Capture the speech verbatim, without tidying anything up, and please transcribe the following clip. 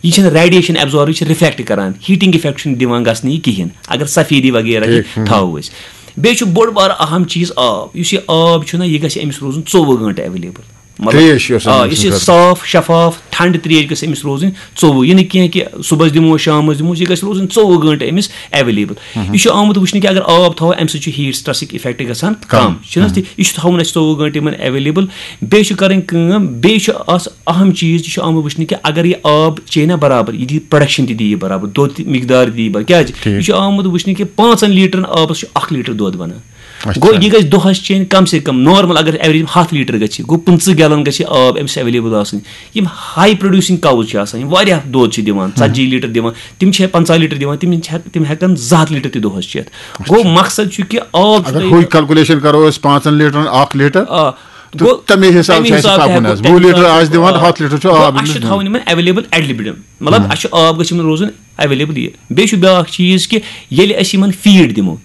یہِ چھِنہٕ radiation absorb, یہِ چھِ رِفلیکٹ کران، ہیٹنگ افیکٹ چھُنہٕ دِوان گژھنہٕ یہِ کِہینۍ، اگر سفیدی وغیرہ تہِ تھاوو أسۍ۔ بیٚیہِ چھُ بوٚڑ بارٕ اہم چیٖز آب۔ یُس یہِ آب چھُنہ، یہِ گژھِ أمِس روزُن ژوٚوُہ گٲنٛٹہٕ ایویلیبل۔ مطلب، تریش یۄس آ، أمِس یُس یہِ خٲطرٕ۔ صاف شفاف ٹھنڈٕ تریش گژھِ أمِس روزٕنۍ ژوٚوُہ، یہِ نہٕ کینٛہہ کہِ صُبحس دِمو، شامس دِمو، یہِ گژھِ روزٕنۍ ژوٚوُہ گٲنٛٹہٕ أمِس ایویلیبل۔ یہِ چھُ آمُت وٕچھنہٕ کہِ اگر آب تھاوو، امہِ سۭتۍ چھُ ہیٹ سٹریسٕکۍ افیکٹ گژھان کم۔ کم۔ چھُنہٕ حظ ٹھیٖک؟ یہِ چھُ تھاوُن اَسہِ ژوٚوُہ گٲنٛٹہٕ یِمن ایویلیبل۔ بیٚیہِ چھُ کرٕنۍ کٲم، بیٚیہِ چھُ اَس اہم چیٖز، یہِ چھُ آمُت وٕچھنہٕ کہِ اگر یہِ آب چیٚیہِ نہ برابر، یہِ دِیہِ پروڈکشن تہِ دِیہِ برابر، دۄد تہِ مقدار دِیہِ برابر۔ کیازِ؟ ٹھیٖک۔ یہِ چھُ آمُت وٕچھنہٕ کہِ پانٛژن لیٹرن آبس چھُ اکھ لیٹر دۄد بنان۔ اچھا۔ گوٚو، یہِ گژھِ دۄہس چیٚنۍ کم سے کم، نارمل اگر ایوریج ہتھ لیٹر گژھِ، گوٚو، پٕنٛژٕہ گیلن گژھِ آب أمِس ایویلیبل آسٕنۍ۔ یِم ہاے پروڈیوسنگ کاوز چھِ آسان، یِم واریاہ دۄد چھِ دِوان، ژتجی لیٹر دِوان، تِم چھِ پنٛژاہ لیٹر دِوان، تِم چھِ ہٮ۪ک-، تِم ہٮ۪کن زٕ ہتھ لیٹر تہِ دۄہس چٮ۪تھ۔ گوٚو، مقصد چھُ کہِ آب چھُ اگر تۄہہِ ہُے کیلکولیشن کرو أسۍ، پانٛژن لیٹرن اکھ لیٹر، آ، تہٕ گوٚو، تمے حساب تمے چھِ اَسہِ حساب تہِ پکُن ہٮ۪کو، حظ۔ تمے وُہ لیٹر حساب آسہِ تہِ دِوان، گوٚو، ہتھ لیٹر چھُ گوٚو، آب اَسہِ چھُ أمِس تھاوُن یِمن ایویلیبل ایٹ لِمِٹڈ۔ مطلب، اَسہِ چھُ آب گژھِ یِمن روزُن ایویلیبل یہِ۔ بیٚیہِ چھُ بیٛاکھ چیٖز کہِ ییٚلہِ أسۍ یِمن فیٖڈ دِمو،